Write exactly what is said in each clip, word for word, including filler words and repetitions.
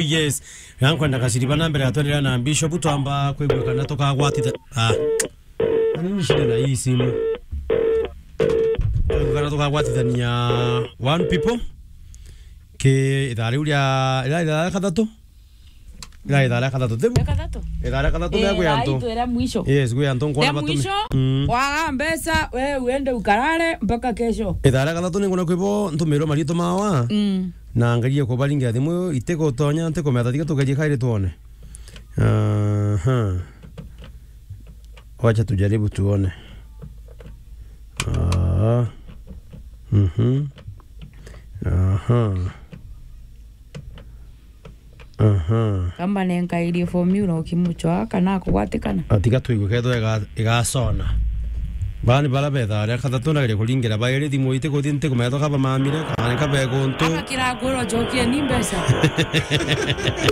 Yes. Yankwenda kaciriba na mbere ya twendelea na Bishop, twamba kwigua kana tukagwatitha-, ah. Ani nishinde na hii simu. Kwigua kana tukagwatithania one people. Ki ithaa riu ria, ira ithaa ria kathatu? Ira ithaa ria kathatu. Thibu? Ria kathatu? Ithaa ria kathatu. Eh, mea gwi antu. Ithaa ria mwisho. Yes, gwi antu nkona. Ria batumi-, mwisho, mm, waga mbeca, we uende ukarare mpaka kesho. Ithaa ria kathatu ningona kwibo ntumirwe maritu mawa. Mm. Na ngerie kubaringira thimu, itigutonya, ntikumeta, tiga tugerie kairi tuone. Aha. Wacha tujaribu tuone. Ah. Mhm. Aha. Aha. Kamba nenkairie formula ukimuchwa kana akugwatikana? Atiga twigue kethwa iga-, igasona. Bani bara betha aria kathatu ndageria kuringira bairi thimu itikuthi ntikumenya kaba mamire kana kaba eguntu. Ama kira kwirwo chokie ni mbeca.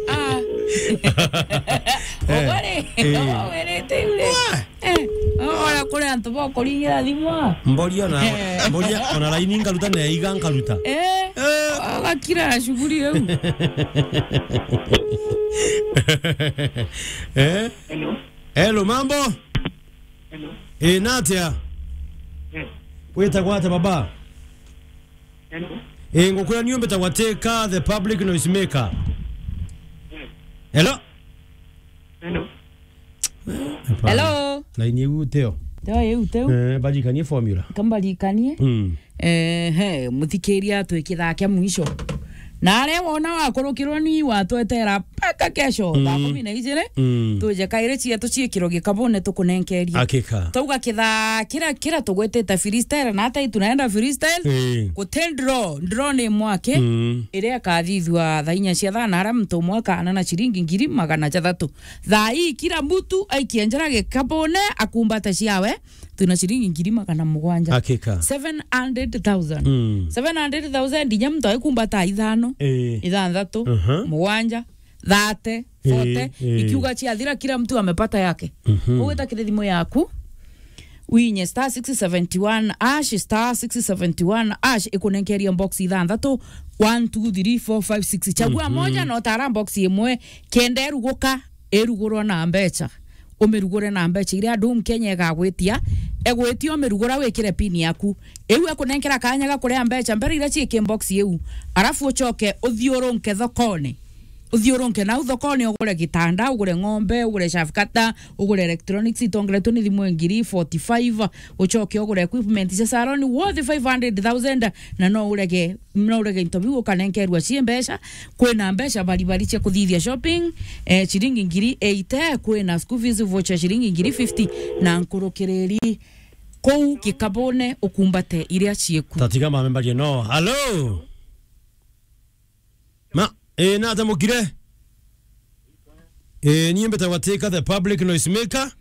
Ah. Eh, ugore, eh. Ugorete ule. Wah! Eh, ora kuri antu bokuringira thimu. Mboria na, eh, mboria ona laini nkaruta na iga nkaruta. Eh, eh, agakira shughuli eu. Eh? Hello. Hello, mambo? Hello. Eh, natia? Yes. Witagwa atia baba? Hello. Eh, ngukwira niu mbitagwa Teka, the public noise maker. Yes. Hello? Hello. Eh, hapana. Hello. Laini iu teo. Teo iu teu. Eh, barikanie formula. Kambarikanie. Mm. Ehe, muthikiria twi kithaa kia mwisho. Na aria wona wakurukirwa ni watwetera mpaka kesho, mm, thaa kumi na ijiri, mm, tuje kairi cietu ciikirwe gikabune tukunenkerie. Hakika. Twauga kithaa kira, kira tugwetete freestyle, na hata tunaenda freestyle, eh, guti draw, draw ni mwake, mm, iria ikathithua thaa inya cia thana, aria muntu umwe akaana na ciringi ngiri magana jathatu. Thaa ii kira mtu aikie njara gikabune akumbate ciawe, twina ciringi ngiri magana mugwanja. Hakika. Seven hundred thousand. Mm. Seven hundred thousand, inya muntu aikumbata ithano, eh, ithanthatu, aha, mugwanja, thirty, forty, eh, eh, ikiuga ciathira, kila mtu amepata yake. Mhm. Ugwita kiri thimu yaku, winye star six seventy one hash, star six seventy one hash, ikunenkeria box ithanthatu, one, two, three, four, five, six. Chagua, mhm, moja na utara box imwe, kenda iruguka, irugurwa na mbecha. Umirugure na mbecha iria andu Mkenya egagwitia, egwitia umirugura wikire pin yaku. Iu ekunenkera kanya ga kuria mbecha mbere iria ciiki box iu. Arafu uchoke uthiurunke thokone. Uthiurunke nau thokone, ugure gitanda, ugure ng'ombe, ugure shafu cutter, ugure electronics itongeretwe ni thimu ngiri forty five, uchoke ugure equipment cia salon worth five hundred thousand, na no urege, no urege into biu ukanenkerwa cie mbecha. Kwina mbecha baribari cia kuthithia shopping, eh, ciringi ngiri eighty, kwina school fees voucher ciringi ngiri fifty, na nkurukiriri kuu gikabune ukumbate iria cieku. Tatiga mamembarie no. Hello? Ma, eh, nata mukire? Eh, nie mbitagwa Teka, the public noise maker.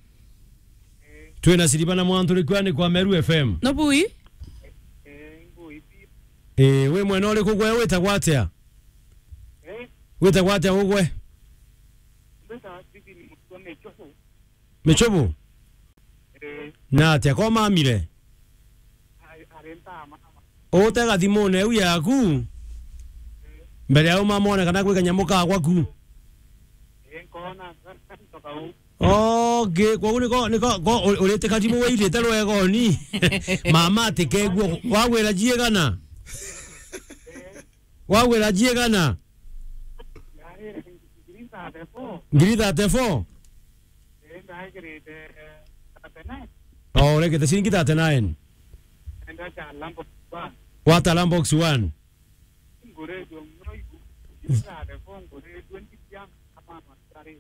Twina siriba na mwantu rikwani kwa Meru F M. No bui? Eh, wi mwena uriku gwe, witagwa atia? Witagwa atia ugwe? Michubu? Eh. Na atia ko mamire? Ari, ari ntama. Utega thimune iu yaku mbere ya umamone kana gwi kanyamu kagwa ku. Eh, nkona, ntoka u. Okay, koguo niko, niko, ko u-, urite karibu wirite rwegoni. Mama atikegua, wagwira jiegana? Wagwira jiegana? Ngiri thirty-four. Ngiri thirty-four? Eh, ndaigirite, eh, thirty-nine. Oh, uregete ciringi thirty-nine? Enda cha lambo one. Wata lambo box one? Ngure jo mnoigu. Ngiri thirty-four, ngure twenty kiang, ama masari.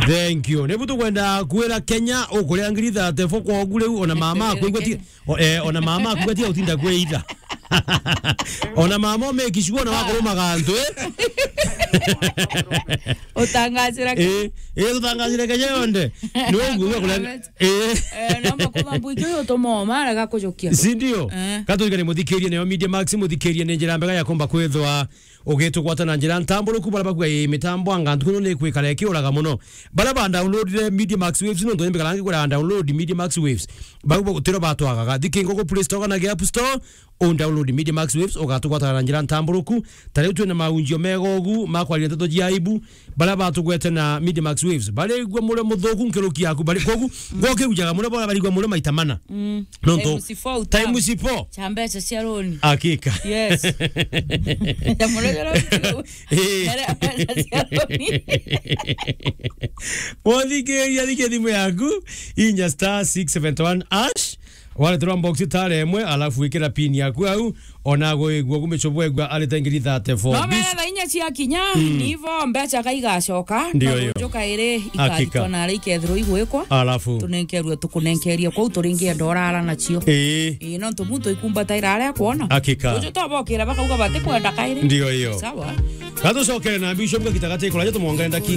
Thank you. Nibu tukwenda kwira Kenya ukuria ngiri thirty-four kwa ugu riu, ona mama akuigua ti-, o-, eh, ona mama akuigua tiga utinda kwitha. Ona mama umekishua na wakurumaga antu, eh? Utangazira Kenya. Eh, eh, tutangazire Kenya yonthe. Ni uguo kuria, eh. Eh, namba kuma mbwiki uyu utuma oma arega kujukia. Si ndio? Eh. Katurikane muthikirie nayo Media Max, muthikirie ni njira mbega ya kumba kwithwa ugitugwata na njira ntamburuku, baria bakuga, "Ii, mitambo anga ntuku ino ni kwikara ikiuraga muno." Baria ba downloadire Media Max Waves, nontu ni mbikara ngikwira download Media Max Waves. Bau bo tiro batwagaga. Thikingo ku Play Store kana gi App Store, u download Media Max Waves, ugatugwataga na njira ntamburuku. Ta riu twina maunjio mega ugu ma kwaria nteto cia aibu, baria batugwete na Media Max Waves. Barigua muri muthuku nkiruki yaku, bari kogu, gwokirujaga muri bo barigua muri maita mana. Mm. Nontu times four utam- times four. Cha mbeca cia roni. Hakika. Yes. Ya muri jara. Eh. Mere mbeca cia roni. Wothikiria, thikia thimu yaku, inya star six seven one hash, wareterwa box tare imwe, alafu wikira pin yaku au, ona gwigua gumicho bwegua arite ngiri thirty-four. No mere thaa inya cia kinya, mm, nivo mbeca kaigacoka, ndio na hiyo. Rujuka iri hakika. Ikaritwa na ari ikethirwo igwikwa. Alafu. Tunenkerwe, tukunenkeria kuu turingienda urara nacio. Ii. Ii, nontu muntu ikumbataira aria akwona. Hakika. Ruju twabokira bakauga batikwenda kairi. Ndio hiyo. Sawa. Gatucokere na Bishop gakita gati kuraja tumwongere ndaki-